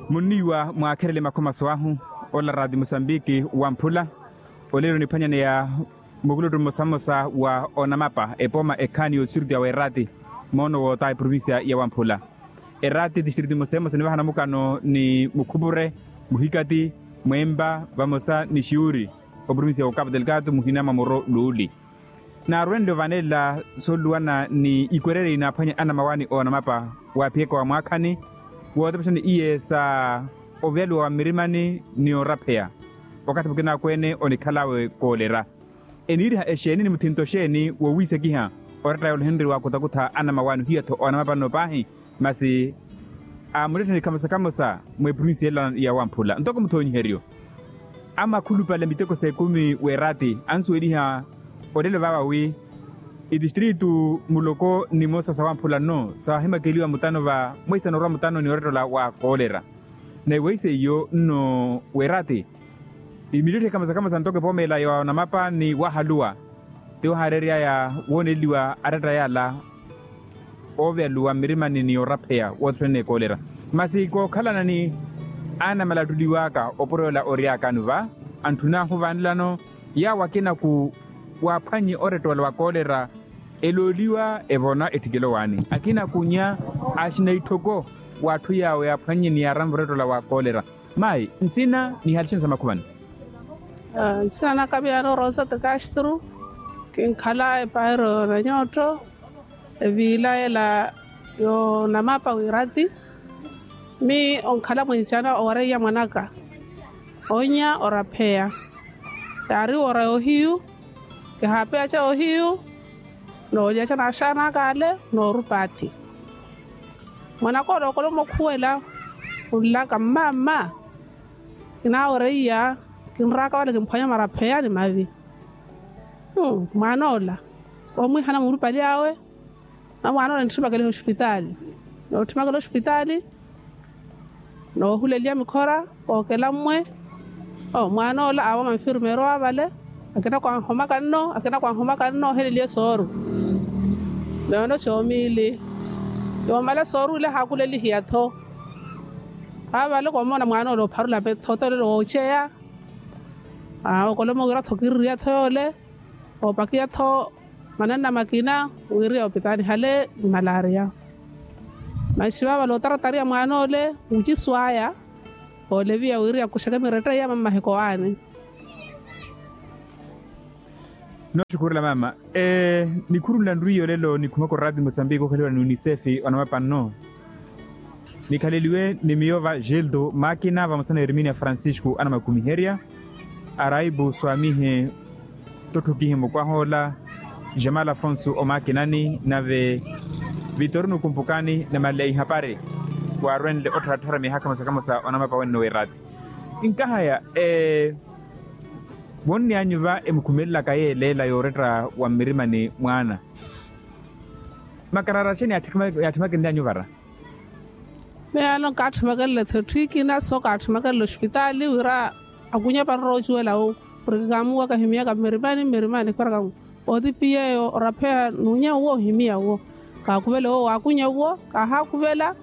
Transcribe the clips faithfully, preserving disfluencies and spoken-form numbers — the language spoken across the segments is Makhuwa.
Munniiwa mwaakherele makhomaso ahu, ola raati musambiki wamphula. Olelo niphwanyaneya mukuluttu mmosa mmosa wa onamapa epooma ekhaani y'otistritu ya weeraati, moono woota eprovincia ya wamphula. Eraati tistritu mmosa mmosa nivahana mukano ni mukhupure, muhikati, mwempa vamosa ni xiuri, oprovincia ya okapu delgado muhina mwa muro luuli. Naarwenle ovanelela sooluwana ni ikwererya inaaphwanya anamawaani oonamapa waaphiyaka wa mwaakhani, wootepexani iye sa oveyaluwa wa mmirimani ni orapheya. Wakathi mukinakweene onikhal'awe koolera. Eniiriha exeeni ni muthinto xeeni wowiisekiha oretta yoole ohinriwa akutakutha anamawaani ohiya-tho oonamapa nno paahi? Masi aamulettheni khamosa khamosa mweprovinsi yela ya wamphula ntoko muthoonyiheryo. Amakhulupale miteko s'ekumi w'eraati ansuweliha olelo vaava wi itistritu muloko nimosa sa wamphula nno saahimakeliwa mutano va mweisano orwa mutano ni orettola wa koolera. Naiwe iseiyo nno w'eraati imiletthi khamosa khamosa ntoko epoomeela ya onamapa ni wahaluwa. Ti ohaarery'aya wooneliwa aretta yala ooveyaluwa mmirimani ni orapheya wootthene ekoolera. Masi kookhalana ni anamalattuliw'aka opuro yola ory'akano va antthun'ahu vaanelano yaawo akinaku waaphwannye oretta ola wa koolera. Elooliwa evona etthikelo waani akinakunya axina itthoko w'atthu yaawo yaaphwannye ni yaaranva oretta ola wa koolera. Mayi nsina nihalixeni sa makhuvani. Nsina naka miyaano rosa tekastru. Kinkhala epairo na nyootto eviila ela yoonamapa wiirati. Mi onkhala mwinsiana owareiya mwanaka onya orapheya. Yaari wora yoohiyu kihaapeyaca yoohiyu noolyaca n'axaana aka ale noorupa atthi. Mwanaka ole okolomo okhuwela khunlaka mma mma. Kinaawereiya kinraaka wale kimphwanya marapheya ni mavi. Mwaana ola oomwihana murupali awe. Na mwaana ola nitthimakaleiha ospitaali nootthimakaleiha ospitaali noohuleliya mikhora kookela mmwe. Mwaana ola aawo manfirmeero avale akina kwanhomaka nno akina kwanhomaka nno oheleliye sooru. Meeno xoomiili yoomala sooru ile haakulelihiya-tho. Avale koomona mwaana ola opharula petho tolelo wooceya. Okolomo wira-tho kiririya-tho yoole oopakiya-tho mananna makina wiriya opitaani hale ni malaria. Masi vavale otaratariya mwaana ole wucisu aya ooleviya wiriya kuxeke miretta iya mammaheko aani. Nooxukhurela mama. Nikhurunla nriiyo lelo nikhumaka orati musambiki okhaliwa ni unisefi onamapa nno. Nikhaleliwe ni miyo va gildo makina vamosa na eriminia francisco anamakumiherya. Araibu swamihe totthukihi mukwaha ola jamal afonso omakinani nave vitorino kumpukani na maleihapari. Waarwenle ottharattharamiha khamosa khamosa onamapa wenno weerati. Nkahaya vonnianyu va emukhumelelaka yeeleela yooretta wa mmirimani mwaana. Makarara axeni yaatthimakenly'anyu vara? Miyaano nkaatthimakenle-tho etthikina so kaatthimakenle ospitaali wira akunye paroroocuwela wu. Porke kaamuwaka ohimiyaka mmirimani mmirimani khweraka otipiyeyo orapheya nunya uwo ohimiya uwo. Kaakhuvela uwo waakunya uwo kaahakhuvela.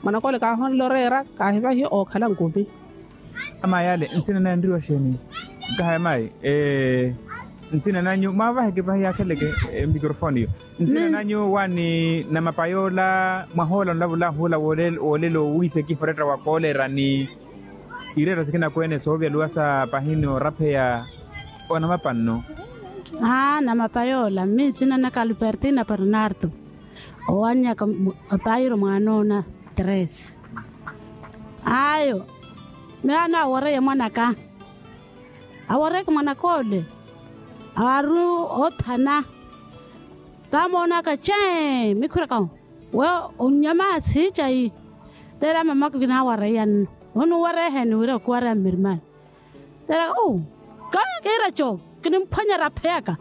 Mwanaka ole kaahonle oreera kaahivahiye ookhala nkumi. Amayi ale nsina naye nriwa xeeni? Nkahaya mayi nsina nanyu mwaavaheke pahi yaakheleke. Microfone yo nsina nanyu waani namapayoola mwahoola nlavulahu ola woolelo wiisekiha oretta wa koolera ni iretta sikina kweene soovyaluwa sa pahi ni orapheya onamapa nno. Aa namapayoola mmi nsina naka albertina bernardo. Owannyaka apairo mwaanoona tres. Ayo miyaano aworeiye mwanaka. Aworeeke mwanaka ole aaru othana. Taamoonaka chee mikhwiraka we onnyama siicayi. Teera mamaka kinaawareiya nno. Onuwareya eheeni wira okuwareya mmirimani? Teera oo kawe kiiraco kinimphwanya rapheyaka.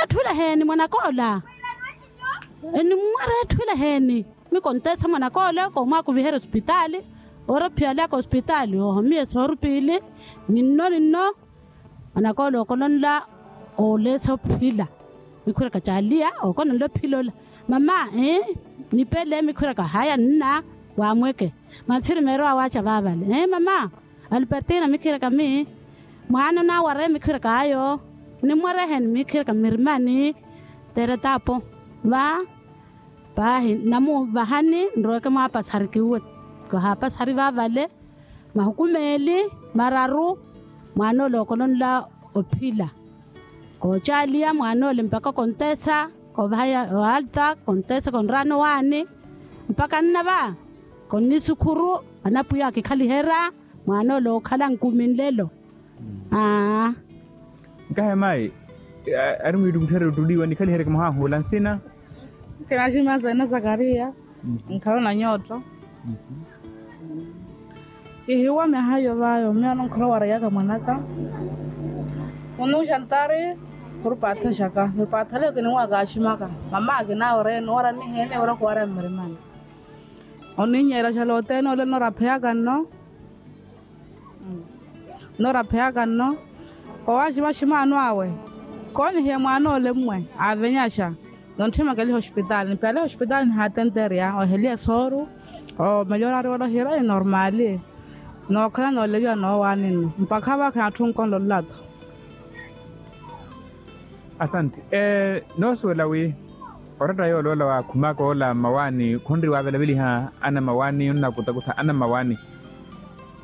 Etthu ila eheeni mwanaka ola enimwareya etthu ila eheeni. Mikonteesa mwanaka ole koomwakuviherya osipitaali. Oorophiyalaka osipitaali oohomiye sooru piili. Ninno ninno mwanaka ole ookolonla ooleesa ophila. Mikhwiraka caaliya ookononla ophila ola mama. Nipele mikhwiraka haya nna. Waamweke. Mantthiri meerowaawe aca vaavale ee mama, alpertina mikhiraka mi mwaana onaawareye mikhiraka ayo. Onimwareheni mikhiraka mmirimani. Teere taapo va. Paahi namuuvahani nroeke mwaapasari kiwe. Kahaapasari vaavale mahuku meeli mararu. Mwaan'ole okolonla ophila koocaaliya mwaan'ole mpaka konteesa. Koovahaya oalta konteesa konraana owaani mpaka nna va. Konnisukhuru anapwiya akikhaliherya mwaan'ole ookhala nkumi nlelo. Aa. Nkahe mayi ari mwiitukutherya ottuliwa nikhaliheryeke mwahahuula nsina. Kinaximya zene zakariya. Nkhala onanyootto. Kihiwa myaha iyo vayo miyo anonkhala owareyaka mwanaka. Onuuxa ntari khurupaathexaka nipaathaleyo kiniwaka aximaka. Mama akinaawereye noora nihiye niwira khuwarya mmirimani. Oninyeela xaloteene ole norapheyaka nno. Norapheyaka nno. Owaximaximaano awe koonihiye mwaan'ole mmwe aavenyaxa. Nontthimaka eliha ospitaali nipiyale ospitaali nihaatenterya oheliye sooru. Omelyoraari wala ohira inormaali. Nookhala nooleviwa noowaani nno mpakha vakha atthu onkonlolla-tho. Asante. Noosuwela wi oratta yooloola waakhumaka oola mmawaani khonri waavelaveliha ana mmawaani onnakutakutha ana mmawaani.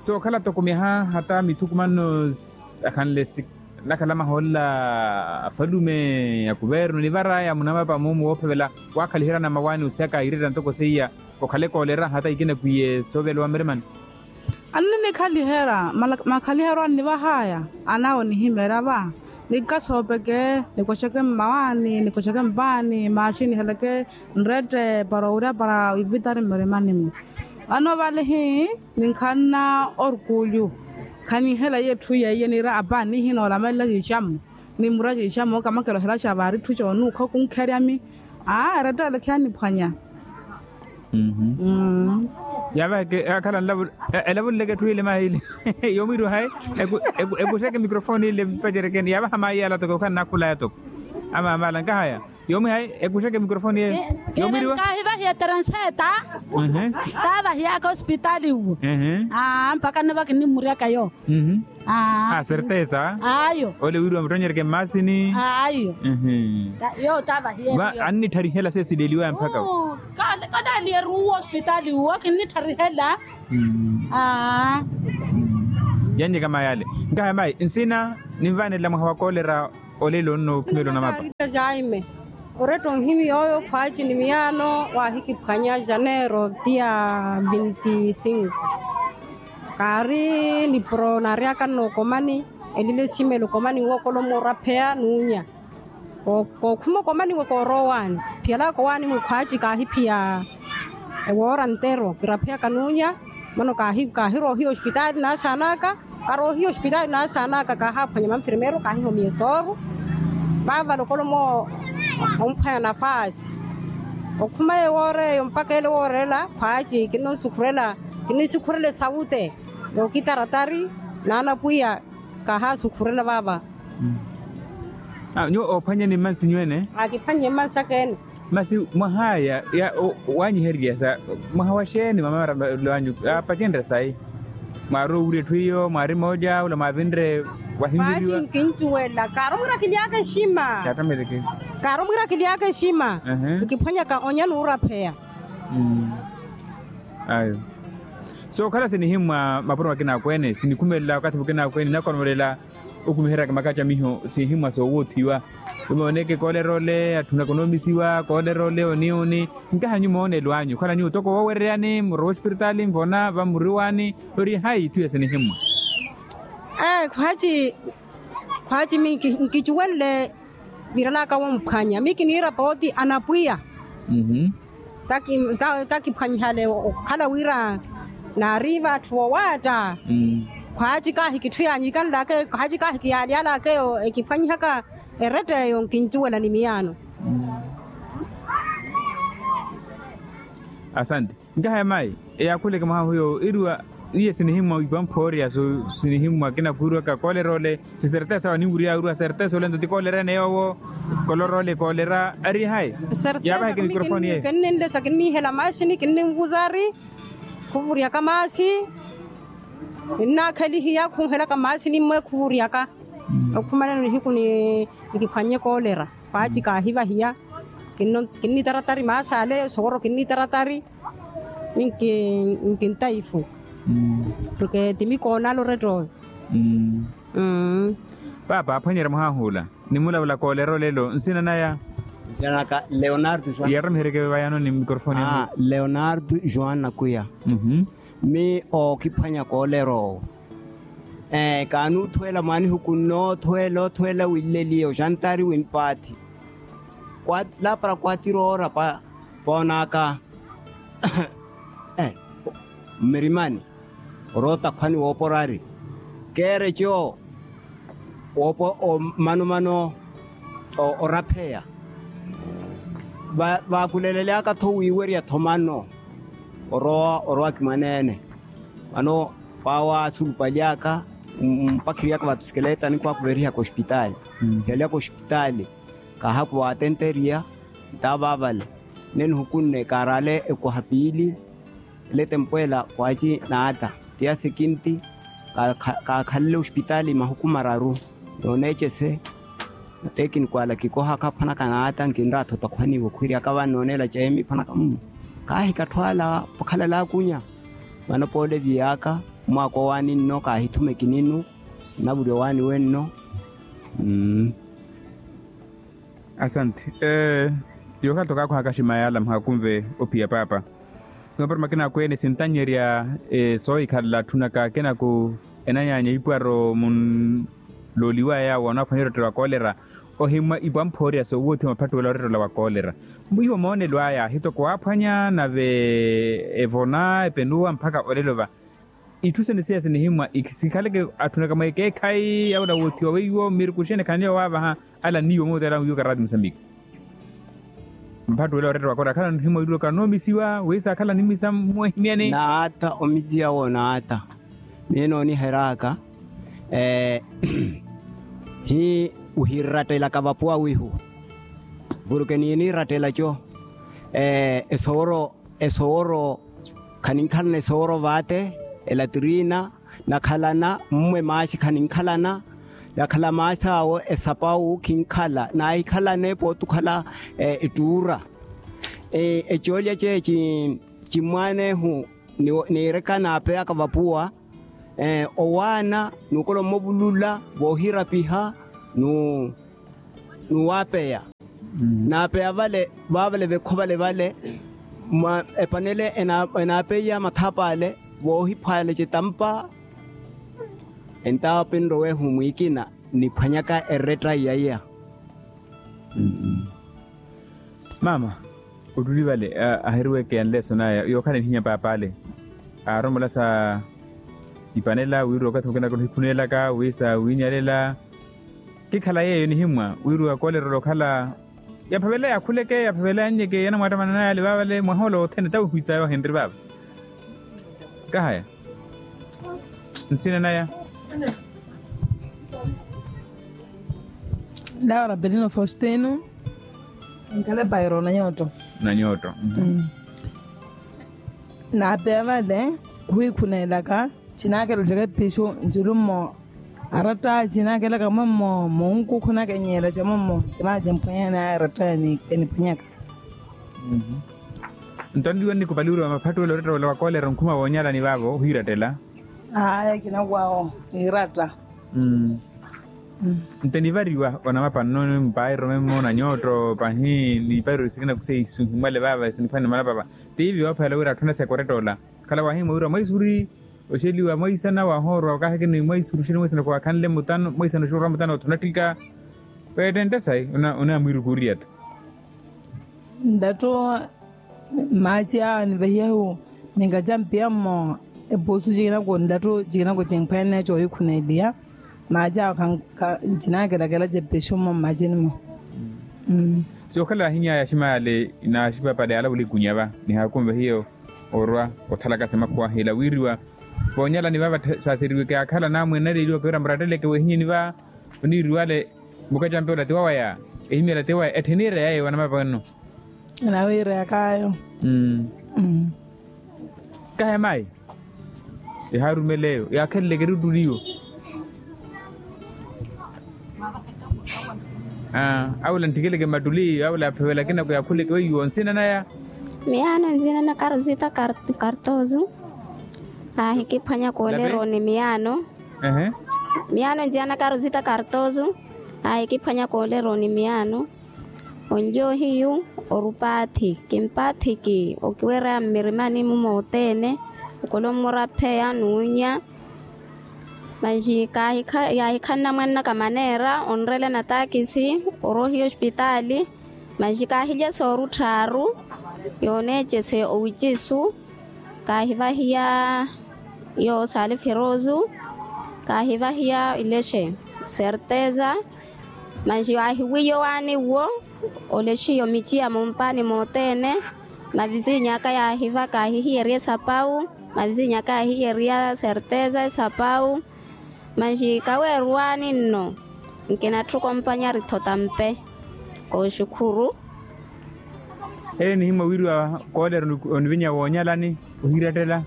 Sookhala toko myaha hata mithukumanno akhanle si nakhalamaha oola afalume ya kuvernu nivaraya munamapa mumu woophevela. Waakhaliherya ana mmawaani osiyaka irettani toko seiya okhale koolera hata ikinakwiye sooveliwa mmirimani. Anninikhalihera makhaliheryo annivahaya. Anawe onihimeerya va nikasopeke nikoxeke mmawaani nikoxeke mpaani maaxi niheleke nrette para owirya para ivitari mmirimani-mu. Vano vale hii ninkhanna orkuulyu. Khaninhela iye etthu iye iye niira apa nihinoolamela ciixammo. Ni mura ciixammo okamakela ohela xa vaari etthu coonuukha okunkheryami. Aa eretteele khiyaaniphwanya. Yaavaheke akhala nlavu elavuleleke etthu ile mahiile. Yoomwiiriwa hayi ekuxeke microphone ile mpacerekeni yaavaha mayi yala toko okhannakhulaya toko. Amaamala nkahaya yoomwi hayi ekuxeke microphone yeyo. Yoomwiiriwa nkaahivahiye terenseeta. Taavahiyaka osipitaali uwo. Mpaka nniva kinnimuryaka yo. Asertesa ayo. Ole wiiriwa muttonyeryeke mmaasini ayo. Yo taavahiyeriyo annitharihela seesileliwaya mpaka. Kaleeliyeru uwo osipitaali uwo kinnitharihela. Yannyeka mayale. Nkahaya mayi nsina ninvaanela mwaha wa kolera. Olelo nno okhumela onamapa. Jaime oretta onhimi yooyo khwaaci ni miyaano waahikiphwanya janeiro tiya vinti cinco. Kaari nipuro naaryaka nno okomani elile simelo okomani wookolomo orapheya n'unya. Kookhuma okomani we koorowa owaani phiyalaka owaani mwe khwaaci kaahiphiya. Ewoora ntero kirapheyaka n'unya. Mano kaahiroohiya ospitaali naasaanaka. Karoohiya ospitaali naasaanaka kaahaaphwanya manfirmeero kaahihomiye sooru. Vaavale okolomo omphwanya nafaasi. Okhuma ewoora eyo mpaka ele woorela khwaaci kinnisukhurela kinnisukhurela esawute. Yookitaratari n'anapwiya. Kahaasukhurela vaava. Nyuwo oophwanyeni mmansi nyuwene. Aakiphwannye mmansi akeene. Masi mwahaya waanyihererya sa mwaha wa xeeni mamamaralo anyu? Aapacenrya sayi. Mwaari owurya etthu iyo mwaari mooja ula mwaavinre. Wahinviriwa nkincuwela kaari omwirakiliyaka exima. Kaari omwirakiliyaka exima. Nkiphwanyaka onya n'urapheya. Ayo. Sookhala sinihimmwa mapuro makina akweene sinikhumelela wakathi mukina akweene ninakonolela. Okhumiheryaka makacamiho sinhimwa soowoothiwa. Emooneke koolera ole atthu nakonoomisiwa koolera ole oni oni. Nkaha nyuwo moonelo anyu okhala nyuwo toko woowereyani murowa ospiritaali nvona vamuriwani. Ori hayi itthu ya sinihimmwa. Ee khwaaci khwaaci miyo nkicuwenle. Virelaka womphwanya miyo kiniira pooti anapwiya. Takiphwanyihale okhala wira naariiva atthu wowaatta. Khwaaci kaahi kitthu yaanyikanlaka eyo khwaaci kaahi kiyaalyalaka eyo ekiphwanyihaka. Eretta eyo nkincuwela ni miyaano. Asante. Nkaha ya mayi eyaakhuleke mwaha hiyo iriwa. Iye sinihimmwa ipamphoorya sinihimmwa akina khuwiriwaka koolera ole. Sisertesa waninwiriya wiriwa sertesa ole nto ti koolera ene yoowo. Kolora ole koolera ari hayi. Yaavaheke mikrofoni yeyo. Kinninlesa kinninhela maxini kinninvuzari. Khuvuryaka maasi. Ninnaakhelihiya khunhelaka maasi nimmwe khuvuryaka. Okhumanano nihiku nikiphwannye koolera, paaci kaahivahiya. Kinnitaratari maasi ale soworo kinnitaratari. Nkintaifu. Porke ti mikoonala orettooyo. Paapa aaphwanyerya mwahahuula. Nimulavula koolera olelo nsina naya? Nsina naka leonardo joan. Yaromiheryeke vayano ni mikorofoni. Leonardo joan nakuya. Mi ookiphwanya koolera owo. Kaanuuthuwela mwaanihuku nnoothuwela oothuwela winleliye oxantari wimpaathi. Lapara kwatira oora poonaka mmirimani. Oroota khwani wooporari keereco. Woopo omanumano orapheya. Vaakulelelyaka-tho wiiwerya-tho mano orowa orowa kimwaneene. Vano paawa suulupaly'aka mpakhiriy'aka vapisikeleta nikhwaakuverihaka oxipitaali. Khiyaly'aka oxipitaali kaahaku waatenteriya. Ntaava vale nne nihukunne kaarale ekwaha piili. Ele tempweela kwaaci naata tiya sekinti. Kaakhalele oxipitaali mahuku mararu nooneecese. Matekiniku ala kikohaka aphwanaka naata nkinraatho takhwaniiwe okhwiryaka vano nooneela ceemi phwanaka mmu. Kaahikattho ala okhalala akunya. Vano poole viyaka mwaaka owaani nno kaahithuma ekininu. Navurya owaani wenno. Asante. Yookhala tokaakhwaka ximaya ala mwahakunve ophiya paapa. Noopara makina akweene sintanyerya soohikhalela atthu naka akenaku enanyaanya ipwaro munlooliwaya yaawo anaaphwanya orettela wa koolera. Ohimwa ipwamphoorya soowoothiwa maphattuwela orettela wa koolera. Mwiiwo moonelo aya hitoko waaphwanya nave evona epenuwa mpakha olelo va. Itthu sene siya sinihimwa sikhaleke atthu naka mweekeekhayi yawula woothiwa weiwo mmiruku xene khanle waavaha. Ala nniiwo mootela wiiwo karaati musambiki. Mpattuwela oretta wa koolera akhala nihimwa wiiruwaka noomisiwa wiisa akhala nimisa mweehimyani. Naata omisiya wo naata. Miyo nooniheraka hii. Ohirattelaka vapuwa wiihu. Porke niiniratela co esoworo esoworo khaninkhalana esoworo vaate. Elatirina nakhalana mmwe maaxi khaninkhalana. Nakhala maaxi awo esapawu khinkhala naahikhalane pootukhala ettuura. Ecoolya ceeci cimmwaanehu niireka naapeyaka vapuwa. Owaana nuukola omuvulula voohirapiha. Nuwaapeya naapeya vale vaavale vekho vale vale. Epanele enaapeiya mathapa ale voohiphwaale cetampa. Entawa pinrowehu mwiikina niphwanyaka eretta iyaiya. Mama ottuli vale aheriweke anleso naya yookhala nihinya paap'ale. Aaromola sa ipanela wira okathi mukinaka ohikhunelaka wi saawinyalela. Kikhala yeeyo nihimwa wira wakoolera olokhala yaphavela yakhuleke yaphavela yannyeke yanamwattamananaya ale vaavale mwaha ola othene tawihu isaya ohenri vaava. Kahaya nsina naya. Laura belino faustino. Nkale pairo na nyooto. Na nyooto. Naapeya vale khuhikhuneelaka. Cinaakela caka episu nculu mmo aratta cinaakelaka mwemmo munkukhunaka enyeela ca mwemmo. Cinaaci emphwanyani aya aratta eniphwanyaka. Nto anliwa nnikupaliweriwa maphattuwelo orettewela wa koolera onkhuma woonyalani vaavo ohiirattela. Aaya kinawawo niiratta. Nto enivariwa onamapa nno mpairo memmo na nyooto pahi nipairo sikina kuseyi sinhimwale vaava siniphwani manapapa. Tiivi woophela wira atthu anaseka orettoola. Khala waahimwa wira mwaisuri oxeliwa mwaisana waahoorwa kaahikini mwaisuri oxeliwa mwaisana khwaakhanle mutano mwaisana oxorwa mutano othuna ttika. Weettente sayi onamwiirukuuriya-tho. Ndatto maaci awo anivahiyahu ninkaca mpiya mmo. Epuusu cikinako ndatto cikinako cimphwene coohikhuneeliya. Maaci awo ncinaakelakela cepexu mmo mmacini-mo. Si okhala ahinya yaximaya ale naxipapale alavula ikunya va nihaakunve hiyo orwa othalaka semakhuwa hila wiriwa. Voonyalani vava saaseriweke akhala namwene naleeliwaka wira muratteleke wehinyeni va oniiriwale. Mukacampe ola ti wawaya ehimyela ti waya etthe eniira yayo vanamapa wenno. Anawiireyakaayo. Kahe mayi? Ehaarumela eyo yaakheleleke eruttuli eyo. Awula nttikeleke mmattuli awula yaphewela akina kuyakhuleke weiwo nsina naya. Miyaano nsina na karuzita kartozu. Aahikiphwanya kooleroni miyaano. Miyaano nsina na karuzita kartozu. Aahikiphwanya kooleroni miyaano. Onlyo hiyu orupaathi kimpaathiki okiwereya mmirimani-mu moothene. Okolommura apheya n'unya. Manji kaahikhanna mwannaka maneera onrela na taakisi orohiya ospitaali. Manji kaahilya sooru tthaaru yooneecese owicisu. Kaahivahiya yoosaale firoosu. Kaahivahiya ilexe serteza. Manji waahiwiya owaani uwo. Olexiyo mici ya mumpaani moothene. Mavizinyu aka yaahiva kaahihiyerya esapawu. Mavizinyu aka yaahiyerya serteza esapawu. Manji kaweeruwaani nno. Nkinatthu kompanyari thota mpe kooxukhuru. Eyo enihimya owiriwa koolera onivinya woonyalani ohiirattela.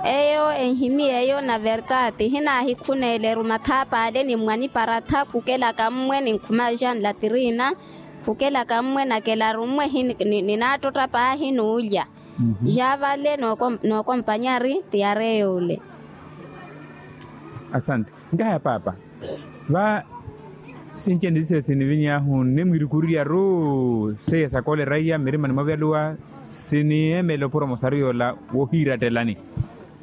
Eyo enhimya eyo na vertaati hinaahikhuneeleru mathaap'ale ni mmwaniparatha khukelaka mmwe ninkhumaxa nlatirina. Khukelaka mmwe nakelaru mmwe. Ninaattotta paahi n'ulya. Ja vale nookompanyari tiyare y'ule. Asante. Nkahaya paapa va sinci eni sisesi niviny'ahu nnimwirikuriry'aru seiya sakoolera iya mmirimani mwavyaluwa. Siniyeemela opuro mosaru yoola wohiirattelani.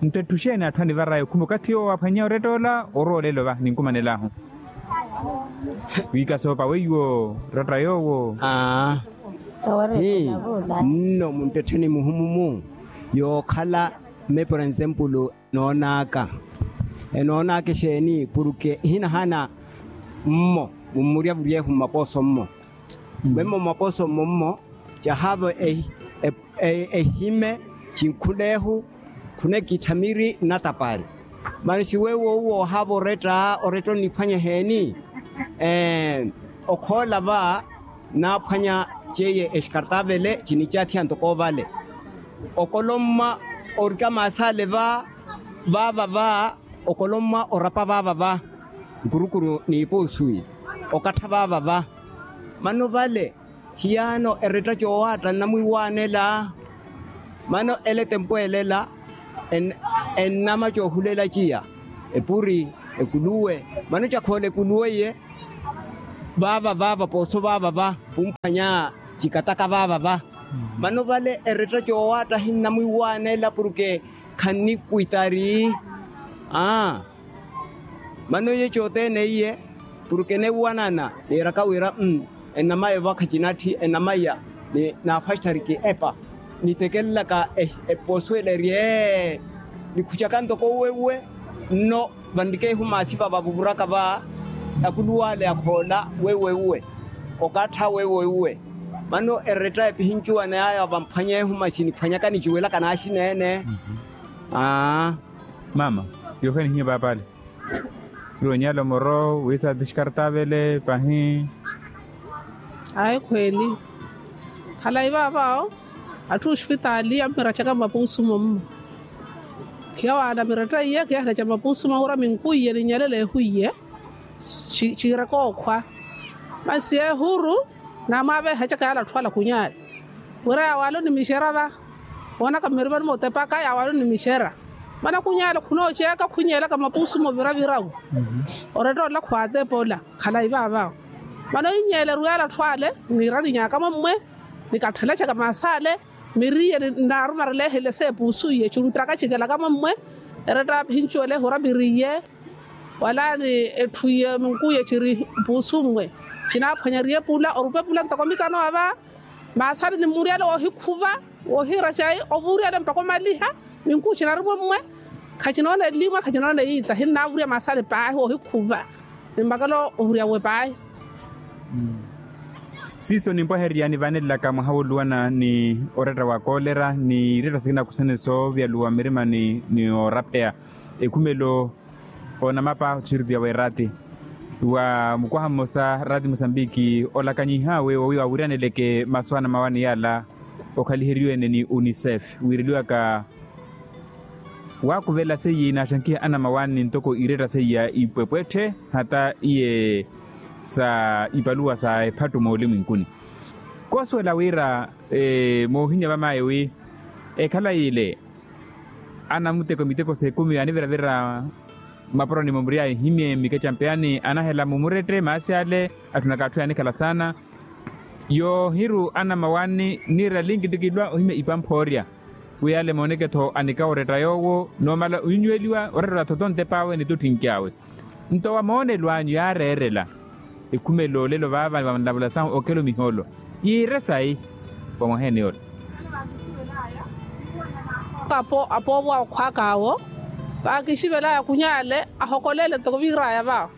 Nto etthu xeeni atthu anivar'aya okhuma okathi yoowo aphwanya oretta ola orowa olelo va ninkumanel'ahu. Wiikasoopa weiwo oretta yoowo. Aa. Nno munttettheni muhumu-mu yookhala mme por ensempulu enoon'aka. Enoon'aka exeeni porke ehinahana mmo mummurya vuryehu mmapooso mmo. Mwemmo mmapooso mmo mmo cahaavo ehime cinkhuneehu. Khunekithamiri nnatapari. Mano siwewo uwo ohaava oretta oretta onniphwanya eheeni? Okhoola va naaphwanya ceiye exkartavele cinicaathiya ntoko ovale. Okolomma orika maasale va vaava va. Okolomma orapa vaava va nkurukuru n'ipuusuwi okattha vaava va. Mano vale hiyaano eretta coowaatta nnamwiiwaanela. Mano ela etempwelela ennama coohulela ciya epuri ekuluwe. Mano cakhoola ekuluwe iye vaava vaava pooso vaava va pumphanya cikataka vaava va. Mano vale eretta coowaatta hinnamwiiwaanela porke khannikwitari. Aa. Mano iye cothene iye porke enewuwanana niiraka wira ennamaya ovakha cinatthi ennamaya ni naafastari ki epa nitekelelaka eposuwela eri ee. Nikhucaka ntoko uwe uwe nno vanrikeehu maasipa vavuvuraka va akuluw'ale akhoola wewe uwe okattha wewe uwe. Mano eretta epihincuwana yaya vamphwanyeehu masi niphwanyaka niciwelaka naaxina-ene. Aa. Mama, yoohenihiye paap'ale. Iri onyala omoro wiisa piskartavele pahi. Ayi khweeli. Khalayi vaavaawo atthu ospitaali ammiracaka mmapuusu mommo. Khiyawaana miretta iye khiyahilaca mmapuusu mahuura minkwiye ninyalela ehu iye. Ciiraka okhwa masi ehuru. Naamwaaveehacaka yaala atthu ala khunyaale wira yaawaale onimixera va. Woonaka mmirimani mootepaka yaawaale onimixera. Mana khunyaale khunooceeka khunyeelaka mapuusu moviravirawu. Oretta ola khwaatepa ola khalayi vaavaawo. Mana ohinyeeleru yaala atthu ale niiraninyaka mommwe. Nikatthelecaka maasa ale miriye nnaarumarela ehele s'epuusu iye ciruttaka cikelaka mommwe. Eretta apihincuwele ehura miriye wala ni etthu iye minkuuye ciri puusu mmwe. Cinaaphwanyariye pula orupa epula ntoko mitano ava. Maasale ni mmuryale woohikhuva woohiira cayi ovuuryale mpakha omaliha. Minkuu cinari mwe mmwe khacinoona eliimwa khacinoona eyiita hinnaavurya maasale paahi woohikhuva. Ni mbakela ovurya we paahi. Siiso nimpwahererya nivanelelaka mwaha wooluwana ni oretta wa koolera ni iretta sikina kusene soovyaluwa mmirimani ni oorapeya ekhumelo. Onamapa othiritiya w'eraati wa mukwaha mmosa raati musambiki olakanyihawe wowi wawiryaneleke masu anamawani yaala okhaliheriwe-ene ni unicef wiireliwaka waakuvela seiya inaaxankiha anamawaani ntoko iretta seiya ipwepwetthe hata iye sa ipaluwa sa ephattu moolimwinkuni. Koosuwela wira moohinya vamaayi wi ekhalayi ile anamuteko miteko s'ekumi aniviravira mmaporoni momury'aya ehimye mmikecampe yaani anahela mumurette maasi ale atthunaka atthu yaanikhala saana. Yoohiru anamawaani niira linki ttikilwa ohimya ipamphoorya wi ale mooneke-tho anikawuretta yoowo noomala onyweliwa oretta oratha otonte p'awe ni totthinki awe. Nto wa moonelo anyu yaareerela ekhumela olelo vaava vanlavula sahu okelo mihoolo yiire sayi? Wa mwaheeni yola. Apoovo akhwaak'awo vaakixivelaya khunyaale ahokoleele ntoko viir'aya va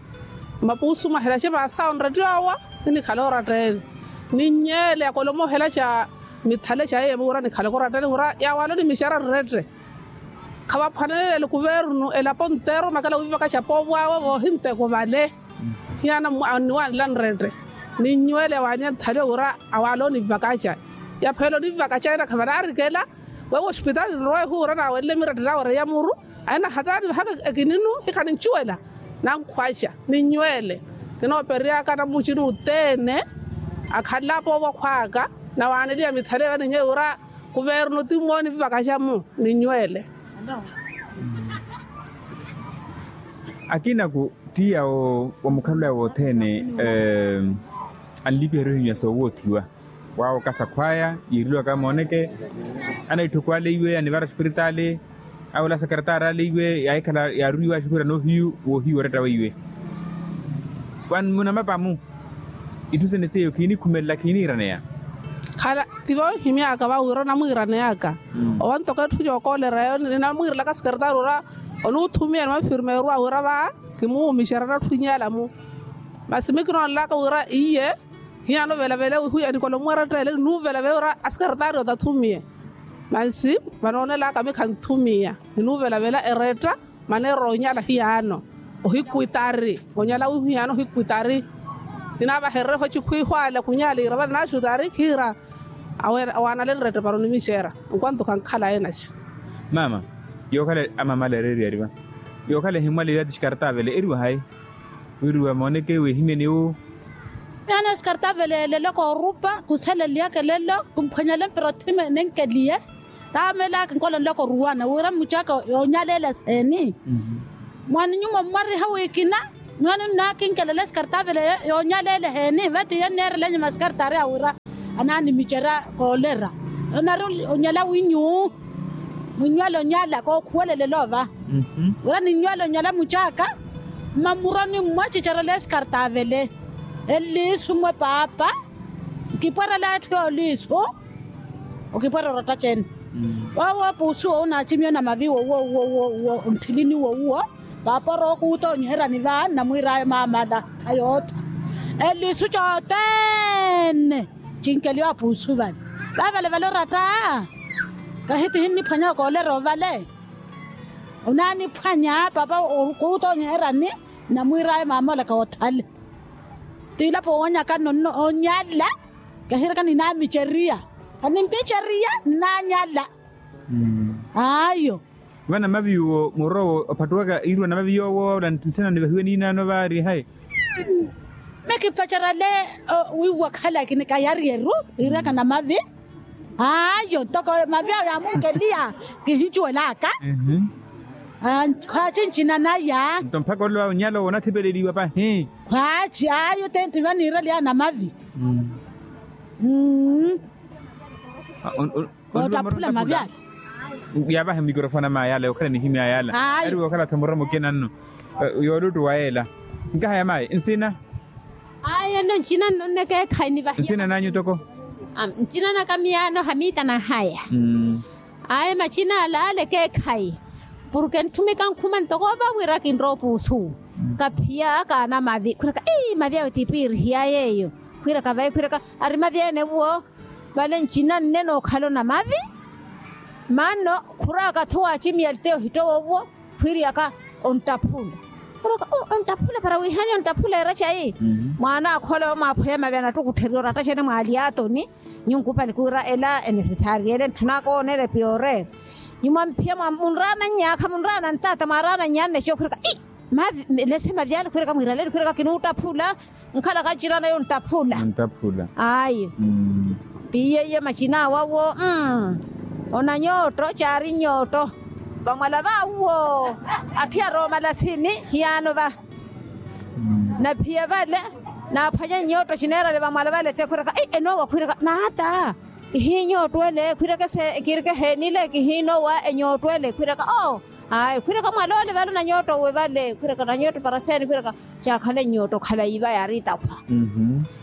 mapuusu mwahelaxe vaasawo nrette owo. Ninikhala oratta-ene ninnyeele akolomohelaxa mithale xaiye muura nikhalaka oratta-ene wira yawaaloni mixara nrette. Khavaphwanelele kuvernu elapo nteero makela wivakaxa poovwaawe voohinteko vale. Hiyana anniwanela nrette ninnywele awaani anthaliwe wira awaala onivakaxa. Yaphela onivakaxa ena khavanaarikela wewo ospitali nrowa ehuura naawenle mirette nawe reiya muru. Aina hataani vahaka ekininu hikhanincuwela nankhwaxa ninnywele. Kinooperyaka namucini othene akhanle apoovwa khwaaka nawaaneliya mithale yo ninnyewe wira kuvernu ti mmooni vivakaxa-mu ninnywele. Akinaku ti yawo wamukhalulaya wothene anlipiherya ohinywa soowoothiwa. Waawo kasakhwaya yiireliwaka mooneke anaitthuku ale iwe anivara ospiritaali. Awo la sekeretaari ale iwe yaahikhala yaaruiwa axukhwira noohiyu woohiyu oretta weiwe. Vano munamapa-mu itthu sene seiyo khiinikhumelela khiiniiraneya. Khala tivoohimyaka vawira onamwiiraneyaka owo ntoko etthu yookoolera eyo ninamwiirelaka sekeretaari ora onuuthumiya ni mafirmeeru awira va kimuwuumixerya natthu inyaala-mu. Masi mi kinoonelaka wira iye hiyano velavela wi huya nikolomuweretta ele ninuuvelavela wira asekeretaari otathumiye. Mansi vanoonelaka mi khanthumiya ninuuvelavela eretta maneera onyala hiyano ohikwitari onyala wihiyano ohikwitari. Kinaavahererya ochikhwiihwaale khunyala iira vale naaxutari khiira awaanale nrette para onimixeera. Nkwanto khankhala enaxi. Mama yookhala amamala ereeriyari va yookhala ehimmwale yaati xikartaavele eriwa hayi? Wiriwa mooneke wehimyeni wu. Yaana xikartaavele elelo koorupa kusaleliyaka elelo kumphwanyale mpira othime nenkeliye. Taamelaka nkolonlaka oruwana wira mucaka yoonyaleela eseeni. Mwaani nyuma ommwariha wikina mwaani nnaakinkelela esikartaavele yoonyaleela eheeni vatiye nneerela nyuma esikartaari awira anaanimicerya koolera. Onari onyala winyu munywala onyala kookhuwelelela ova wira ninywala onyala mucaka. Mmamuroni mmwacicerela esikartaavele eliisu mmwe paapa nkipwerela etthu yooliisu. Okipwerya oratta cene. Woowo puusu owo naacimiye onamavi wowuwo wowuwo wowuwo ontthilini wowuwo. Paapa orowa okuuta onyiheryani va nnamwiir'aya maamala khayootha eliisu cothene. Cinkeliwa puusu vale vavale vale oratta. Kahitihi nniphwanya okoolerya ovale onaaniphwanya paapa okuuta onyiheryani nnamwiir'aya maamala koothale. Tiilapo woonyaka nno onyala. Kahiraka ninaamicerya. Animmicerya nnaanyala. Ayo. Vana mavi uwo muroowo ophattuwaka iiriwa na mavi yoowo ola nsina nivahiwe niinaano vaari hayi? Mekipacerya le wiiwa khala kinikayaryeru iiraka na mavi. Ayo ntoko mavi awo yaamunkeliya kihincuwelaka. Khwaaci ncina naya nto mpakha olelo awo nyala owo onathipeleliwa pahi. Khwaaci ayo tenti vaniireliya na mavi. Ottaphula mavi ale. Yaavahe mikorofoni a mayi ale okhala nihimya yala. Ariwe okhala tho muramo kina nno. Yooluttu wa ela. Nkahaya mayi nsina. Ayo nno ncina nno nne keekhayi nivahiya nsina nanyu toko. Ncina naka miyaano hamiita nahaya. Aye macina ala ale keekhayi. Purke ntthumika nkhuma ntoko va wira kinrowa opuusu kaphiya kaana mavi khwiraka ii mavi awe tipiirihiya yeeyo. Khwiraka vayi khwiraka ari mavi ene vuwo. Vale ncina nne nookhala onamavi. Maanno khuraka tho waacimiya liteyo ohittowa owo. Khwiiriyaka onttaphula. Khuraka onttaphula para wiihani onttaphula era cayi. Mwaana akhole omwaaphoya mavi anattukuttherya oratta cene mwaali atoni. Nyunkupali khwiira ela enesesari ele ntthunaka oonera epiyoreera. Nyuma mphiya munraana nnyaakha munraana ntaata mwaaraana nnyaanna eco khwiraka i mavi lese mavyali khwiraka mwiiraleni khwiraka kinuuttaphula. Nkhalaka nciraana yonttaphula. Ayi. Piiyeiye macina awawo. Onanyooto caari nyooto vamwala vawo. Atthu yaroomala sini hiyaano va naphiya vale. Naaphwanye nyooto cineerale vamwala vale tse khwiraka i enoowa khwiraka naata. Kihiinyootwele khwiraka ese kiirike heenile kihiinoowa enyootwele khwiraka oo. Ayi khwiraka mwaloole vale onanyooto uwe vale khwiraka onanyooto para seeni khwiraka. Caakhale nyooto khalayi va yaari itakhwa.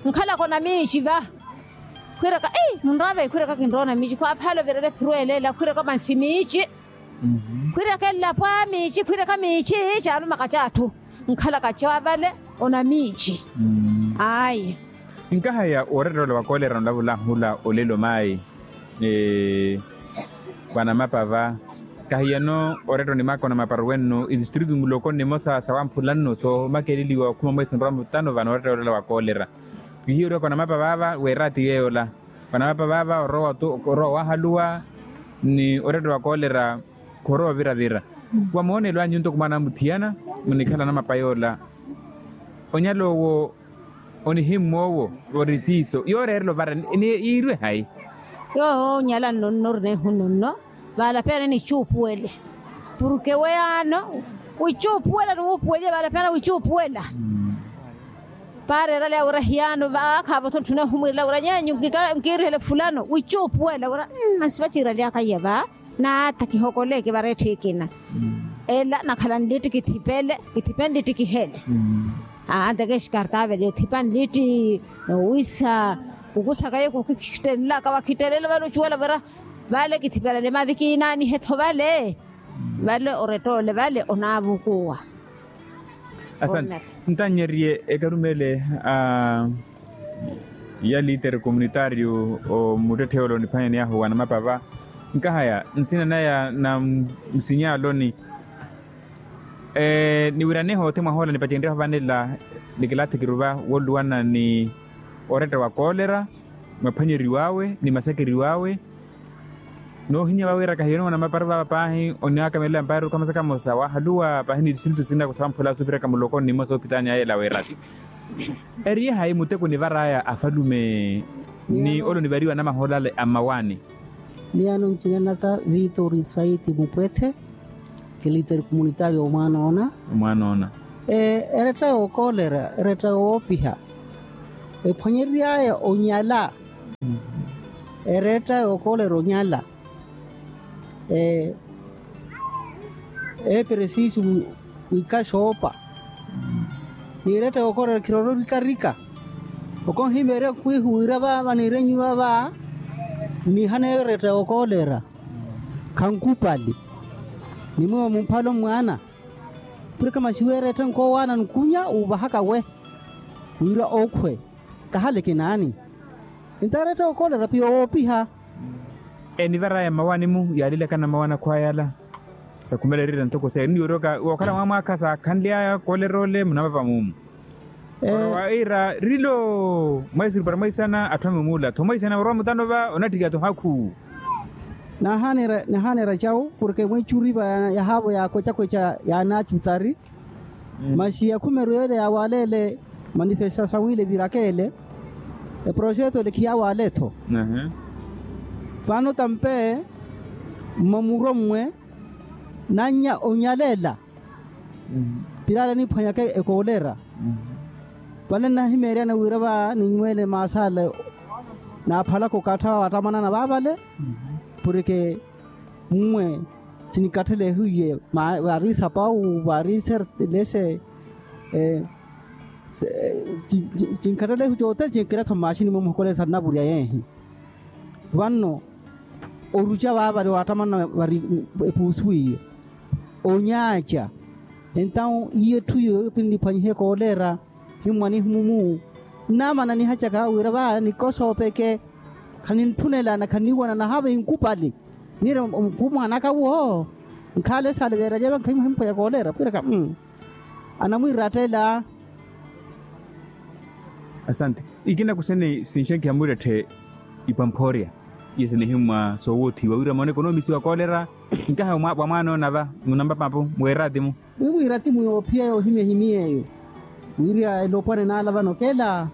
Nkhalaka onamiici va khwiraka ii munraave khwiraka kinroona miici khwaaphaala ovirela ephirwelela khwiraka mansi miici. Khwiraka elapo a miici khwiraka miici caalumaka c'atthu. Nkhalaka ca vale onamiici. Ayi. Nkahaya oorettela ola wa koolera onlavulahula olelo maayi. Vanamapa va. Kahiyano oretta onimaka onamapa ruwennu itistritu muloko nimosa sawamphula nnu soomakeleliwa okhuma omweesi nrwa mutano vano oretta olela wa koolera. Kihiyo orioka onamapa vaava weera ati yeeyola. Vanamapa vaava orowa wahaluwa ni oretta wa koolera. Khorowa ovira-vira. Wa moonelo anyu ntoko mwaana amuthiyana munikhala anamapa yoola. Onyala owo onihimmwa owo ori siiso yooreerela ovara. Yiirwe hayi? Yoowo onyala nno nno ori neehu nno nno. Vaalapeyana nicuupuwele. Purke weyaano wicuupuwela ni wuupuweliye vaalapeyana wicuupuwela. Paareerale awira hiyaano vaakhaavo-tho ntthuna ohumwirela wira nyeenyu nkiirihele fulano wicuupuwela wira. Masi vaciiralyaka iya va. Naata kihokoleke vareetthi ekina. Ela nakhala nlitti kithipele kithipele nlitti kihele. Aa nteke exkartavele othipa nlitti nowisa kukusaka ye kukhittelelaka wakhittelela vale ocuwela vira. Vale kithipelele mavi kiinaanihe-tho vale. Vale oretta ole vale onaavukuwa. Asante. Ntannyeriye ekarumele a ya liitere komunitaariyo omuttetthe ole oniphwanyaney'ahu wanamapa va. Nkahaya nsina naya na nsiny'aloni. Niwiranehe othi mwahoola nipacenryahu vanela nikilaathi kiruva wooluwana ni oretta wa koolera. Mwaphwanyeriw'awe ni masakeriw'awe. Noohinya vawira kahiyoni mwanamapari vava paahi oniakamelela mpari okamosa kamosa wahaluwa paahi ni isintu sinaka sawamphula suviraka muloko nnimosa ophitani aye ela weeraka. Eriye hayi muteko nivar'aya afalume ni ole onivariwa anamahoola ale a mmawaani. Miyaano ncina naka vitori saiti mupwethe. Kiliteri komunitario omwaana ona. Omwaana ona. Eretta yookoolera eretta yoopiha. Ephwanyery'aya onyala. Eretta yookoolera onyala. Eeperesisi wikasoopa. Ni eretta yookoolera khirororikarika. Okonhimeerya nkwihu wira vaava niirenyiwa va. Nnihaneyo eretta yookoolera. Khankupali. Ni mwiwo mumphalo mmwaana. Purikha masi weeretta nkoowaana nkunya uuvahaka we. Wira okhwe. Kahale kinaani. Ntaaretta okoolera piyo woopiha. Enivar'aya mmawaani-mu yaalilakana mmawaani akhwaya ala. Sakhumela erira ntoko seeri ni yoryoka wookhala mwaamwaakha saakhanly'aya koolera ole munamapa muumu. Oro waira rilo mwaisuru para mwaisana atthu amumula tho mwaisana orowa mutano va onattikiya tho hakhu. Nahaanera cawu porke mwiicuri va yahaavo yaakwecakweca yaanaacutari. Masi akhumeru yeele yaawaleele manifestasawu ile virakeele. Eproxeto ele khiyawale-tho. Vano tampe mmamuro mmwe nannya onyalela. Pilaale aniphwanyaka ekoolera. Vale nnahimeeryana wira va ninnyweele maasale naaphalaka okattha wattamanana vaavale. Porke mmwe cinikatthelehiye vaari sapau vaari sertelese. Cinkatthelehu cothene cinkira-tho mmaxini mwe muhokolele thanavurya yeehi. Vanno oruca vaavale wattamanana vari epuusu iyo. Onyaaca entawu iyo etthu iyo pinniphwanyihe koolera. Himmwa nihimumu nnaamana nihacaka wira va nikosoopeke. Khanintthunela na khanniiwana nahaava inkupali. Niire mukhuumwaanaka wo nkhaale esaale veeralya vankhayi muhimphweya koolera pwiraka. Anamwiirattela. Asante. Ikina kusene sinxenkiha mwiiretthe ipamphorya. Iye sinihimmwa soowoothiwa wira moone ekonomisi wa koolera. Nkaha wa mwaanoona va munampa mapu mweeratimu. Mwiwiratimu yoophiya yoohimya ehimiy'eyo wirya elopwana enaala vano okela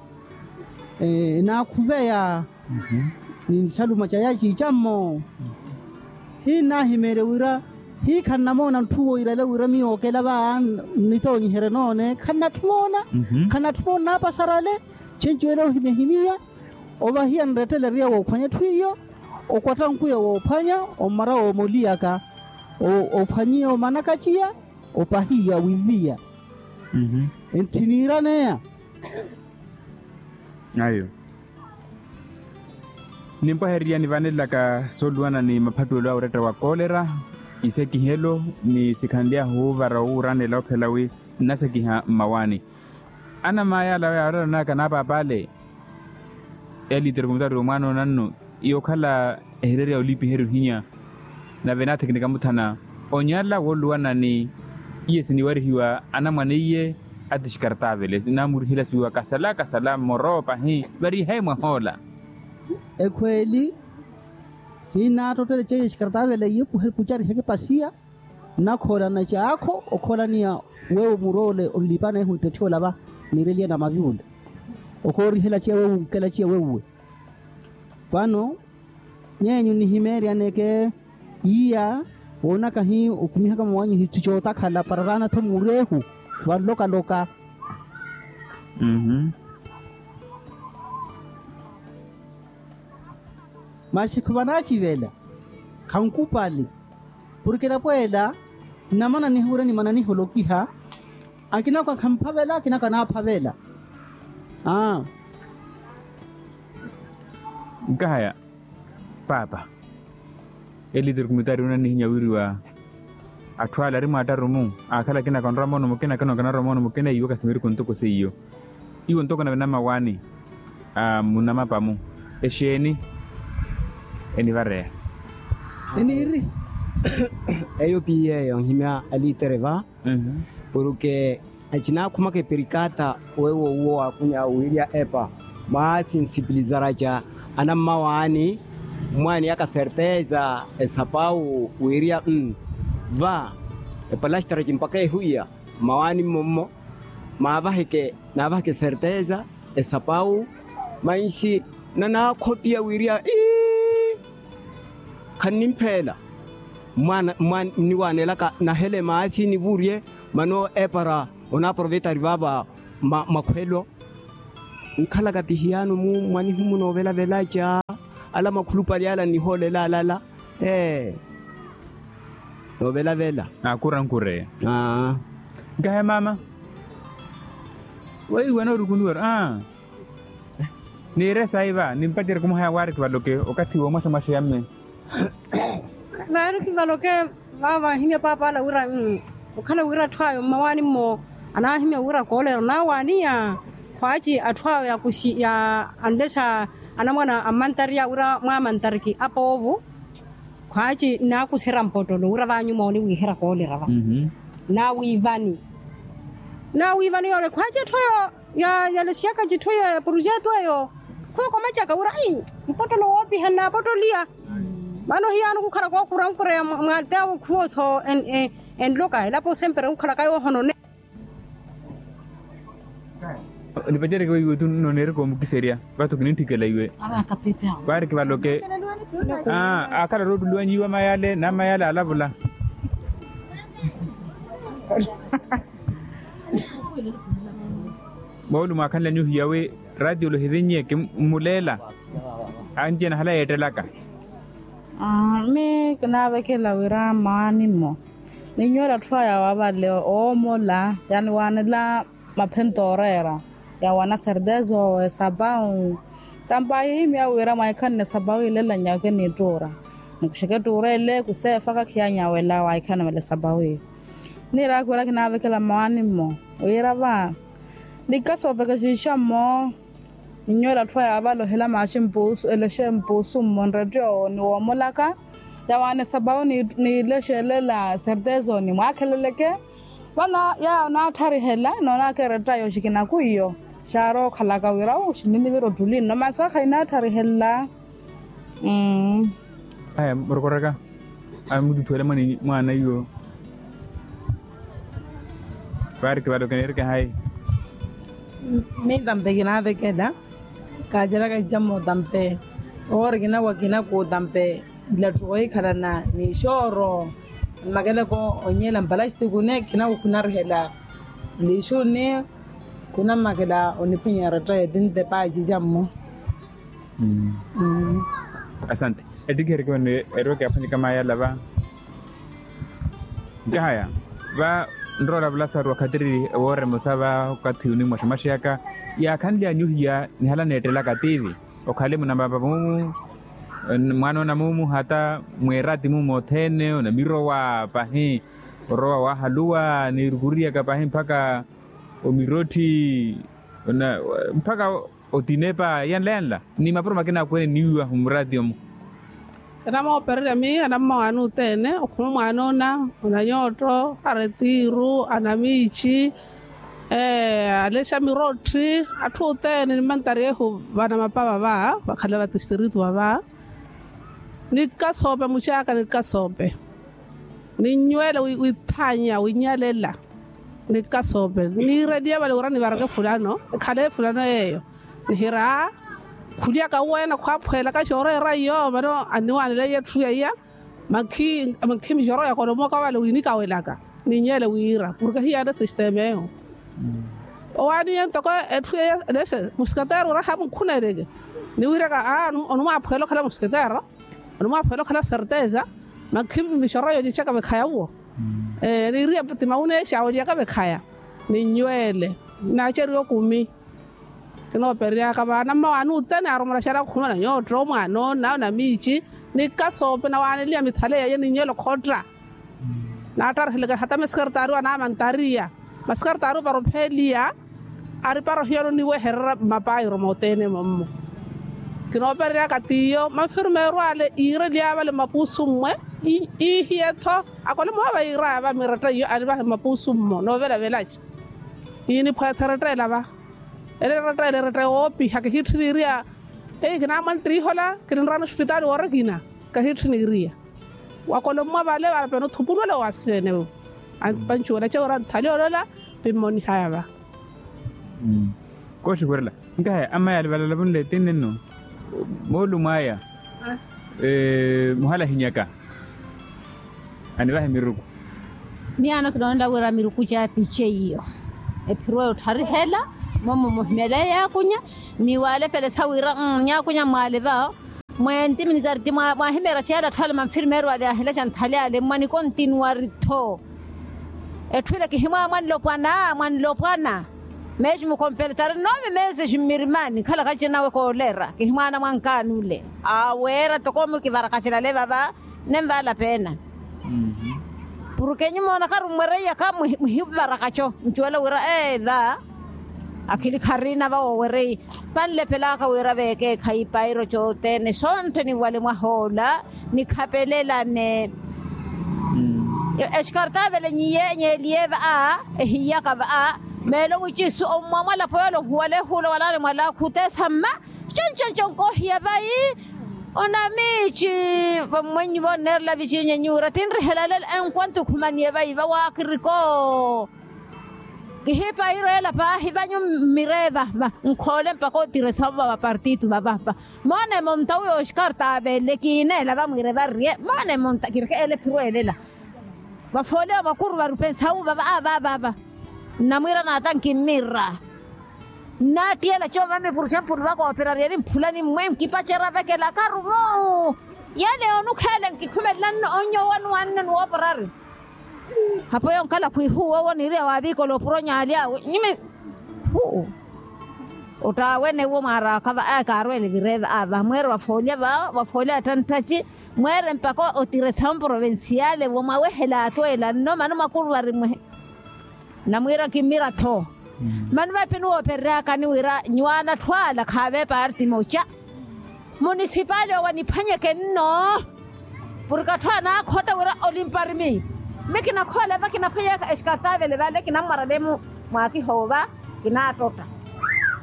enaakhuveya ni nsaluma ca yaaciicammo. Hinnaahimeerye wira hii khannamoona ntthu woirale wira miyo okela va nnitoonyiherye noone khannatthi moona. Khannatthi moona naapasarale chenci wela ohimya ehimiya. Ovahiya nrettele eriya woophwanya etthu iyo okwatta nkuya woophwanya ommara woomoliyaka ophwanyiya omanakaciya opahiya wiviya. Entthi niiraneya. Ayo nimpwahererya nivanelelaka sooluwana ni maphattuwelo a oretta wa koolera isekihelo ni sikhanly'ahu oovara owuuranela okhela wi nnasekiha mmawaani. Anamaayi ala yaaroranaka n'apaap'ale eliiteri kumutari omwaanoonannu yookhala ehireerya olipiherya ohinya. Nave naathekineka muthana onyala wooluwana ni iye siniwarihiwa anamwane iye ati xikartaavele naamurihelasiwa kasala kasala mmoro pahi. Variihayi mwahoola. Ekhweeli hiinaattottele ceiye xikartaavele iye kucariha ekipasiya. Nnakhoolana caakho okhoolaniya wewo muroole onlipanehu nttetthi ola va niireliye na mavi ole. Okoorihela ciya wewo nkela ciya wewuwe. Vano nyeenyu nihimeeryaneke iya woonaka hi okhumihaka mawanyu hitthu cootakhala pararaana-tho murehu. Vanlokaloka masi khuvanaacivela. Khankupali porke elapweela nnamananiha wira nimananiha olokiha. Akinako akhamphavela akinako anaaphavela. Aa nkahaya paapa eliteri kumitari onanihinya wiriwa. Atthu ale ari mwaattaru-mu aakhala akinako anrwa moono mukina akinako anarwa moono mukina iwo kasimiriku ntoko seiyo. Iwo ntoko nave namawaani a munamapa-mu exeeni enivareya? Eniiri eyo piyeeyo nhimya alitere va porke acinaakhumaka eperikata wewo uwo waakunya wirya epa mwasinsiplizaraca anammawaani mwaaniyaka serteza esapawu wirya va epalastaraci mpaka ehuya mmawaani mmommo maavaheke naavaheke serteza esapawu manxi nanaakhotiya wirya ii khannimphela mwaana mwaana nniwaanelaka nahele maasi nivurye mano epara onaaprovetari vaava makhwelo nkhalaka ti hiyaano-mu mwanihumuna ovelavelaca ala makhulupale ala nihoolela alala ee noovelavela. Akurankureya nkahe maama weiwe anoorukuniwari aa niire sayi va nimpacerye kumuhaya waari kivaloke okathi woomaxomaxo ya mme. Vaari kivaloke vaava ahimya paapa ala wira okhala wira atthu ayo mmawaani mmo anaahimya wira koolera onaawaaniya khwaaci atthu ayo yakuxi ya anlexa anamwana ammantari ya wira mwaamantari ki apoovo khwaaci nnaakuserya mpottolo wira vaanyuma oniwiiherya koolera va naawiivani naawiivani yoole khwaaci atthu ayo yalexiyaka citthu eyo ya projeto eyo khwiya okomacaka wira mpottolo woopiha nnaapottoliya. Vano hiyaano khukhala kookurankureya mwateya wokhuwa-tho enloka elapo sempre khukhalaka yoohonone. Nipacereke weiwe tu noneereke omukiserya vathu kinintthikela iwe. Vaari kivaloke aa akhala roottuliwanyiwa mayale na mayale alavula. Moolu mwaakhanlanyuhiya wi ratiyolo hivinnye kimmuleela anci-ene ahala yeettelaka. Mii kinaavekela wira mmawaani-mmo ninyoole atthu aya wa vale oomola yaniwaanela maphento ooreera yawana sertezo esapawu. Tampa ahihimya wira mwaikhanne esapawu ilelanyaka eniittuura nikuxeke ettuura ele kuseefaka khiyanyawela waikhanne vale esapawu iyo. Niiraaka wira kinaavekela mmawaani-mmo wira va nikasi oovekexeixa mmo. Ninyoole atthu aya avale ohela maaxi mpuusu elexe mpuusu mmo nrettiyo ni woomolaka yawaana esapawu niilexelela sertezoni mwaakheleleke. Vano yaya onaattharihela enoonaka erettayo xikinaku iyo xaarookhalaka wira uu xinninivira ottuli nno masi akha inaattharihela. Aya murokoraka. Aya mututhuwela mwaana iyo. Vaariki vale okineereke hayi? Mitampe kinaavekela. Kaaceraka icammo tampe. Owo ori kinawa kinaku tampe. Nlattuko yikhalana ni xooro. Mmakeleko onyeela mpalastiko ni kinaku khinarihela. Lixuni. Khunammakela oniphwanya eretteye tintepa ecicammo. Asante. Ettikhereke wene erweke aphwanyeka maayala va. Nkahaya va nroora vulasaru wakhatiri woorema osa va okathi onimwaxamaxeyaka. Yaakhanly'anyu hiya nihala neettelaka tiivi. Okhale munamapa mumu. Mwaanoona mumu hata mweerati mumu othene onamirowa pahi. Orowa waahaluwa niirukuriyaka pahi mpakha omirotthi. Mpakha otinepa yanla yanla ni mapuro makina akweene niwiwa mumurati omo. Enamoopererya miiha nammawaani othene okhuma mwaanoona onanyootto aretiiru anamiici. Alexa mirotthi atthu othene ni mantari ehu vanamapa vava vakhala vatistiritu vava. Nikasoope muxaka nikasoope. Ninyuwele withaanya winyalela. Nikasoope niireliye vale wira nivareke fulano ekhale fulano yeeyo. Nihira khulyaka uweene khwaphweelaka xooreera iyo vano anniwaaneleye etthu yaiya. Makhi mixoro yakolomoka vale winikawelaka. Ninyele wira porke hiyaana sistema eyo. Owaaniye ntoko etthu yaiya lexe musikatero wira hamunkhuneeleke. Niwiraka aa onumwaaphweela okhala musikatero. Onumwaaphweela okhala serteza. Makhi mixoro yoocecaka vekhaya uwo. Niiriya ti mawuneexa olyaka vekhaya. Ninyweele. Naaceriwa okumi. Kinoopereryaka vaana mmawaani othene aarumulaxaryaka okhumana nyootto mwaanoona onamiici. Nikasoope nawaaneliya mithale yaiya ninyweele okhotta. Naattarihileke hata masikartaari wanaamantariya. Masikartaari opara opheeliya. Aripara ohiyano niwehererya mapayiro mothene mommo. Kinoopereryaka t'iyo manfirmeeru ale iireliya vale mmapuusu mmwe. Iihiye-tho akole mmoha vayiiraya va miretta iyo anivahe mmapuusu mmo noovelavelaci. Iiniphweetha erettela va. Ele erettela eretta yoopiha kihittini iriya. Eyi kinaamwantta ihola kininraana ospitaali woori ekina. Kahittini iriya. Wakolommwa vale vale pene othupulwela owaasiyene. Pancuwela cewo ora nthali olola. Pimmonihaya va. Kooxiwerela. Nkahaya amaya alivalala vunle tinne nno. Moolumo aya. Muhalahinyaka. Anivahe miruku. Miyaano kinoonela wira miruku caapice iyo. Ephiru eyo ottharihela. Momo muhimeleya yaakunya. Ni waalepelesa wira nyaakunya mwaale va. Mwentiminisari ti mwaahimeera ciyala atthu ale manfirmeeru ale aahileca nthali ale mmwa nikontinuwari-tho. Etthu ile kihimwaa mwanlopwana mwanlopwana. Meeci mukompeletari nnoomi meesexi mmirimani nkhalaka cinawe kooleera kihimwaana mwankaani ole. Aweera toko mukivarakacela ale vava. Nenvaala peena. Porke nyumoonakaru mmwereiyaka muhivarakaco ncuwela wira ee va. Akhili kharina va woowereiya. Panlepelaka wira veekeekhayi ipayiro cothene sontthe niwale mwahoola. Nikhapelelane. Exkartavele nyiyeenyeeliye va a. Ehiyaka va a. Meelo mwici isu ommwa mwalapo yoole ohuwala ehuula walaani mwalaakhu oteesa mma. Conconco nkoohiya vayi. Onamiici. Vammwennyu vonneerela vicinye nyuura tinrihela lelo enkwantu khumaniye vayi vawaakiriko. Kihiipa ireela paahi vanyu mmireeva. Nkhoole mpaka otiresa vava vapartitu vavapa. Moonemo mtawi oxkarta aveele kiineela vamwiire varye moonemo mta kirikheele phirweelela. Vafoole ovakuruvari opensa uva vaavavava. Nnamwiira naata nkimmira. Nnaattiyela coova mipuru cempulu vakooperarya evi mphulani mmwe nkipacerya vekelakaru vo. Yale onukheele nkikhumelela nno onnyo owanuwanne nuwooporari. Hapo yonkala khwihuwa owo niiriya waaviikola opuro nyaalyawe nyimi. Hu. Ottaawenewo mwaaraaka va aya kaarweele vireeva a vamweere vafoolya vawo vafoolya attanttaci. Mweere mpaka otiresa mprovinsiyale wo mwawehela atweela nno mano mwakuruvari mwehe. Namwiira kimmira-tho. Mano mapi nuwoopereryakani wira nyuwaana atthu ala khaave parti moca. Munisipali owo aniphwanyeke nno. Purke atthu anaakhotta wira olimparimi. Mi kinakhoola va kinaphwanyaka exkartavele vale kinammwarale mwakihoova. Kinaattotta.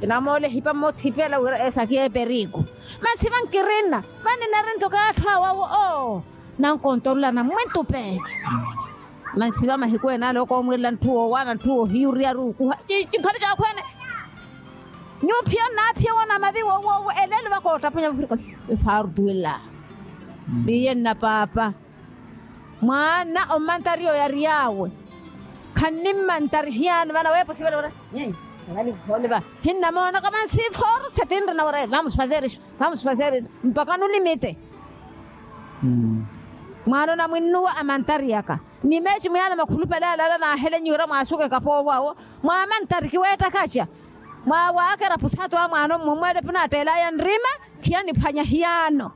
Kinamoole ehipa mmothipela wira esaki ya eperiku. Masi vankirinna, vaninarento kaatthu awawo oo. Nankontorolana mwintupe. Masi va mahiku ene ale okoomwirela ntthu woowaana ntthu woohiyuriya ruukuha. Cinkhale cakhwene. Nyuwo phiyo nnaphiya woona mavi woowowo elelo vakoottaphwanya vafirikoni. Efartuwela. Viiye nna paapa. Mwaana ommantari oyary'awe. Khannimmantari hiyaano vana weepo sivale ora. Hinnamoonaka mansi forse tinrina ora vamos fazer isu. Vamos fazer isu. Mpaka nulimite. Mwaana onamwinnuwa amantariyaka. Ni meeci mwiyaana makhulupale alaala naahelenyiwira mwaasuka ekapoovo awo. Mwaamantari kiweettakaca. Mwaawaka erapusaatu a mwaana ommwe mweelepuna atteelaya nrima. Khiyaniphwanya hiyaano.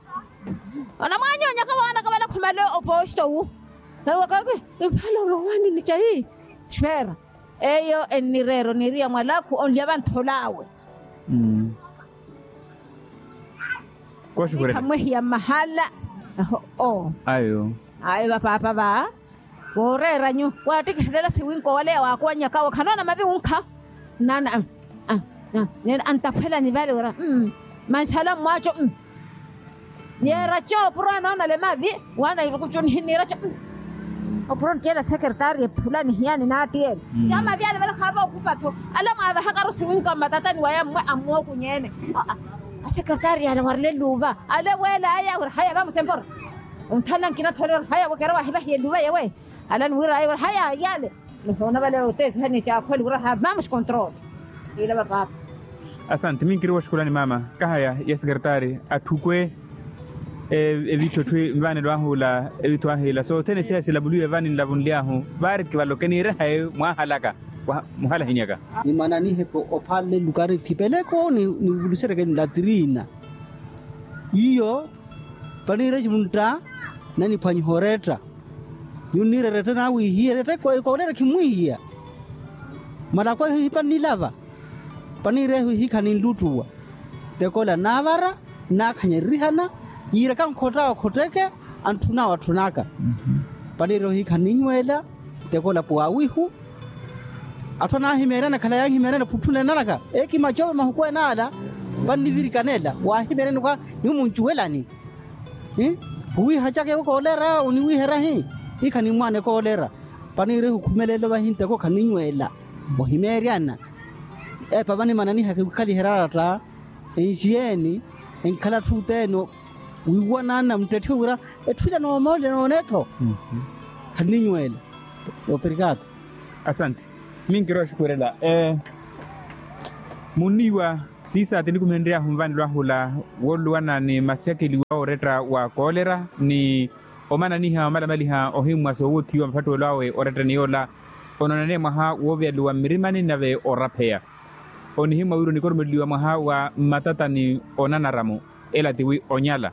Onamwaanyonyaka waanaka vale khumale opoosto wu. Ewo kaki. Impala orowaani ni cayi. Xweera. Eyo ennireera oniiriya mwalakhu onlya vantthol'awe. Kooxukhurela. Khamwehiya mmahala. Aho oo. Ayo. Ayo vapaapa va. Wooreera nyu waattikihelela siwinko waleya waakuwannyaka wo khanoona mavi wunkha. Nnaana. Neene anttaphwelani vale wira. Manxala mmwaaco. Yeeraco opuro anoonale mavi. Waana irukucu nihinniiraco. Opuro nttiyela sekertari ephula nihiyani naattiyeela. Ca mavi ale vale khaava okhupa-tho. Ale mwaavahakaru siwinka mmatatani waya mmwe ammookunyeene. Asekertari ale warile luuva ale weelaya wira haya vamusempora. Ontthana nkina-tho ale wira haya wekera wahivahiye luuva yewe. Alani wir'aya wira haya yale. Nihoona vale oteesihani caakhweli wira ha vamos control. Iila vapaapa. Asante minkiri woxukhulani maama. Kahaya ya sekertari atthukwe evitho etthu nvaanelo ahu ila evitho ahu ila sothene siya silavuliwe vaani nlavunly'ahu. Vaari kivaloke niire hayi mwaahalaka. Muhalahinyaka. Ni mwananiheke ophalle lukari thipeleko nivuliseryeke nlatirina. Iyo. Paniire cimuntta naniphwanyiha oretta. Nyunniire eretta naawiihiya eretta ekoolera khimwiihiya. Malakhu ehihipa nnilava. Paniire ehihiikha ninluttuwa. Tekola naavara naakhanya erihana. Yiiraka nkhotta okhotteke antthuna watthunaka. Paniire ohiikha nninnyweela. Tekola puwaawihu. Atthu anaahimeeryana khala yaahimeeryana phutthuna enanaka ekimacowe mahuku enaala. Vannivirikanela waahimeeryana okwa nimuncuwelani. Khuwiiha caka ewo koolera oniwiiherya hi. Hiikha nimmwaana ekoolera. Paniire ehukhumelela ovahinteko khaninnyweela. Ohimeeryana. Epa vanimananihaka ewikhaliherya aratta. Enxiyeeni enkhala atthu othene. Wiiwanana muttetthiwe wira etthu ila noomoolele noone-tho. Khanninyweela. Operikato. Asante. Minkiri oxukhurela. Munniiwa siisaati nikumenry'ahu nvanelo ahula wooluwana ni masyakeliwa oretta wa koolera ni omananiha omalamaliha ohimmwa soowothiwa maphattuwelo awe orettani yoola. Onoonane mwaha wooviyaluwa mmirimani nave orapheya. Onihimmwa wira onikoromeliwa mwaha wa mmatatani onanaramu. Ela tiwi onyala.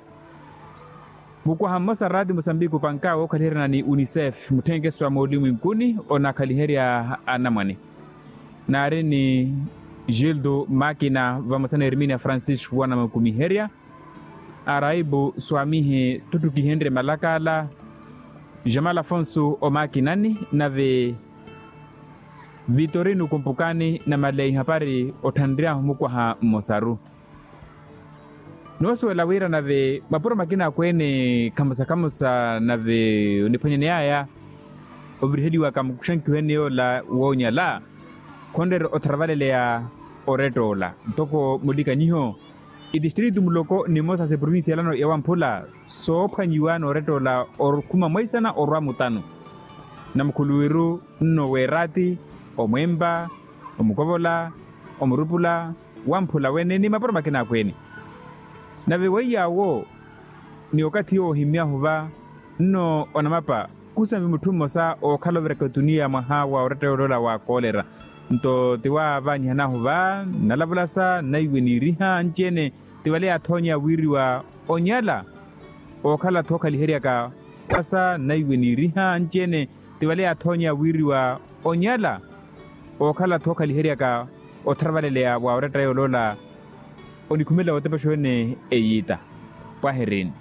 Mukwaha mmosa raati musambiki opanka wookhaliheryana ni unicef mutthenkeso a moolumwinkuni onakhaliherya anamwane. Naari ni gildo makina vamosa na erminia francisco wanamukumiherya. Araibu swamihi ttutthukihenrye malakala. Jamal afonso omakinani nave vitorino kumpukani namaleya ihapari otthanry'ahu mukwaha mmosaru. Noosuwela wira nave mapuro makina akweene khamosa khamosa nave oniphwanyaney'aya oviriheliwaka muxankiho ene yoola woonyala khonreera otharavaleleya oretta ola ntoko mulikanyiho. Itistritu muloko nimosa seprovinsiyalano ya wamphula soophwanyiwa noorettoola okhuma mwaisana orwa mutanu. Namukhuluwiru nno weeraati, omwempa, omukovola, omurupula, wamphula wene ni mapuro makina akweene. Nave weiy'awo ni okathi yoohimmyahu va nno onamapa khusambi mutthu mmosa ookhala oviraka etuniya mwaha wa oretta yoola wa koolera. Nto ti waavanyihan'ahu va nnalavulasa nnaiwe niiriha anci-ene ti vale yaathoonya wiiriwa onyala. Ookhala-tho okhaliheryaka asa nnaiwe niiriha anci-ene ti vale yaathoonya wiiriwa onyala. Ookhala-tho okhaliheryaka otharavaleleya wa oretta yooloola. Onikhumela wootepexuwene eyiita pwahirini.